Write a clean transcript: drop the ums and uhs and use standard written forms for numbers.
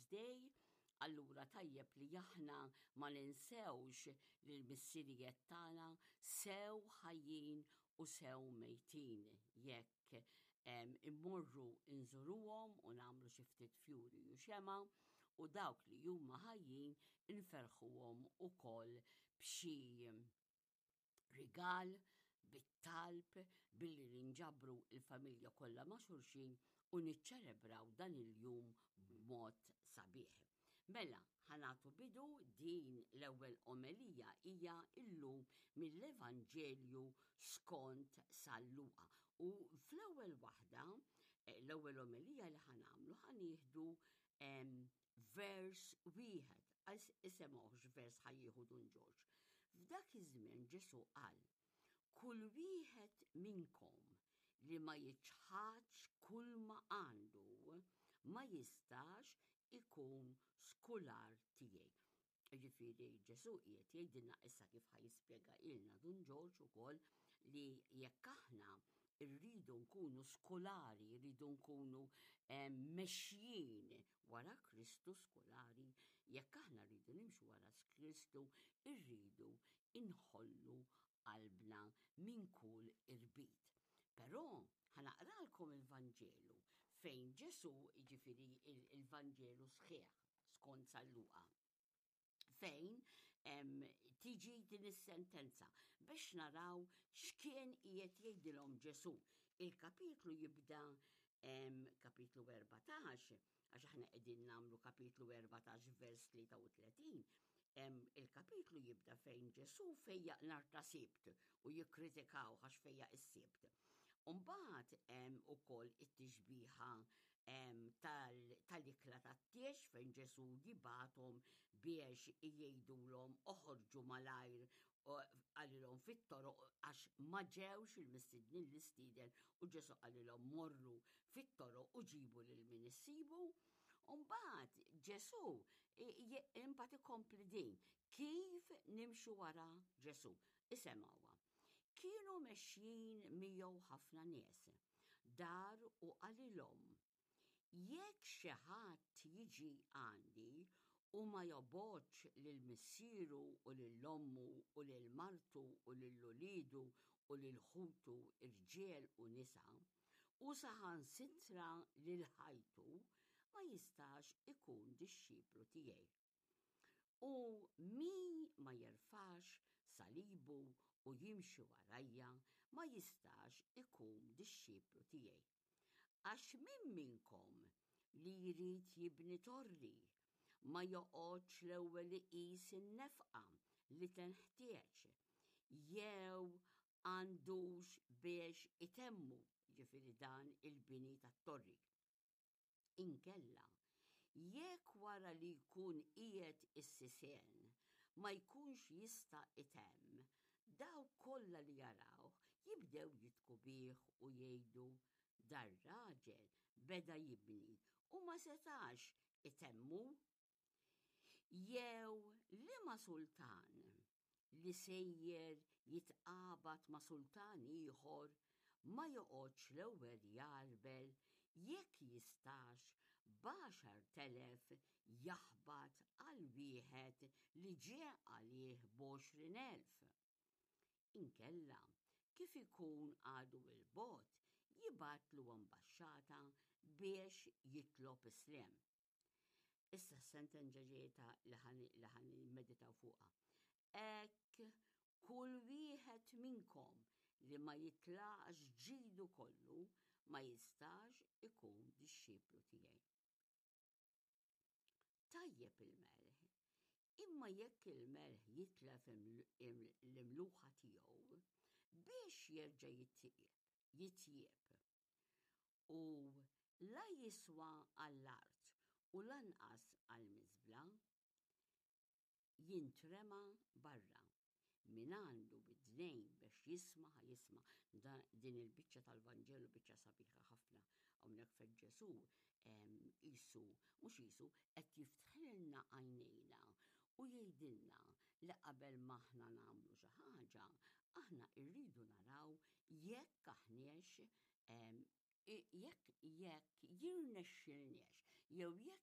Day, allura tajjeb li aħna ma ninsewx lil missirijiet tagħna sew ħajjin u sew mejtin jekk immorru nżuruhom u nagħmlu xi ftit fjuri u xema u dawk li huma ħajjin inferħuhom ukoll b'xi rigal, bit-talb, billi ninġabru il-familja kollha ma' xulxin u niċċelebraw dan il-jum b'mod sabiħ. Mela, ħanatu bidu din l-ewwel omelija hija illum mill-Evanġelju skont San Luqa. U fl-ewwel waħda, eh, l-ewwel omelija li ħanamlu ħanieħdu vers wieħed, għax isemgħuhx vers ħa jieħu Dun Ġorġ. F'dak iż-żmien Ġesù qal, Kull wieħed minnkom li ma jiċħadx kull ma għandu ma jistax ikun skular tiegħi. Ġifieri Ġesù qiegħed jgħidilna issa kif ħa jispjega ilna Dun Ġorġ ukoll li jekk aħna rridu nkunu skolari, rridu nkunu eh, mexjin wara Kristu skolari, jekk aħna rridu nimxu wara Kristu, irridu inħollu qalbna minn kull irbit. Però ħanaqralkom il-Vanġelu fejn Ġesu, jiġifieri il-Vanġelu sħiħ skont San Luqa fejn tiġi din is-sentenza biex naraw x'kien qiegħed jgħidilhom Ġesu. Il-kapitlu jibda kapitlu 14, għax aħna qegħdin nagħmlu kapitlu 14 vers 33, il-kapitlu jibda fejn Ġesu fejjaq nar ta' sibt u jikkritikaw għax fejjaq is-sibt. Umbagħad hemm ukoll it-tixbiha tal-ikla tat-tiex fejn Ġesu jibgħathom biex jgħidulhom oħorġu malajr qalilhom fit-toroq għax ma ġewx il-mistednin l-istieden u Ġesu qalilhom morru fit-toroq u ġibu lil min issibu. Umbagħad Ġesu imbagħad ikompli din kif nimxu wara Ġesu. Isemgħuha. Kienu mexjin miegħu ħafna nies. Dar u qalilhom, Jekk xi ħadd jiġi għandi u ma jobgħodx lil missieru u lil ommu u lil martu u lil uliedu u lil ħutu rġiel u nisa, u saħansitra lil ħajtu, ma jistax ikun dixxiplu tiegħi. U min ma jerfax salibu u jimxi warajja ma jistax ikun dixxiplu tiegħi. Għax min minnkom li jrid jibni torri ma joqgħodx l-ewwel iqis in-nefqa li tenħtieġ jew għandux biex itemmu, ġifieri dan il-bini tat-torri. Inkella, jekk wara li jkun qiegħed is-sisien ma jkunx jista' itemm, dawk kollha li jarawh jibdew jidhku bih u jgħidu, 'Dar-raġel beda jibni u ma setax itemmu. Jew liema sultan li sejjer jitqabad ma' sultan ieħor ma joqgħodx l-ewwel jgħarbel jekk jistax b'10,000 jaħbat għal wieħed li ġie għalih b'20,000. Inkella, kif ikun għadu 'l bogħod, jibgħatlu ambaxxata biex jitlob is-sliem. Issa s-sentenza ġejta li ħan meditaw fuqha. Hekk kull wieħed minnkom li ma jitlaqx ġidu kollu ma jistax ikun dixxiplu tiegħi. Tajjeb il-melħ, imma jekk il-melħ jitlef l-imluħa tiegħu biex jerġa' jitjieb. U la jiswa għall-art u lanqas għall-miżbla, jintrema barra. Min għandu widnejn biex jisma' ħa jisma'. Din il-biċċa tal-Vanġelu biċċa sabiħa ħafna. Hawnhekk fejn Ġesù qisu, mhux qisu, qed jiftħilna għajnejna u jgħidilna li qabel ma aħna nagħmlu xi ħaġa, aħna rridu naraw jekk aħniex jekk jekk jirnexxilniex jew jekk.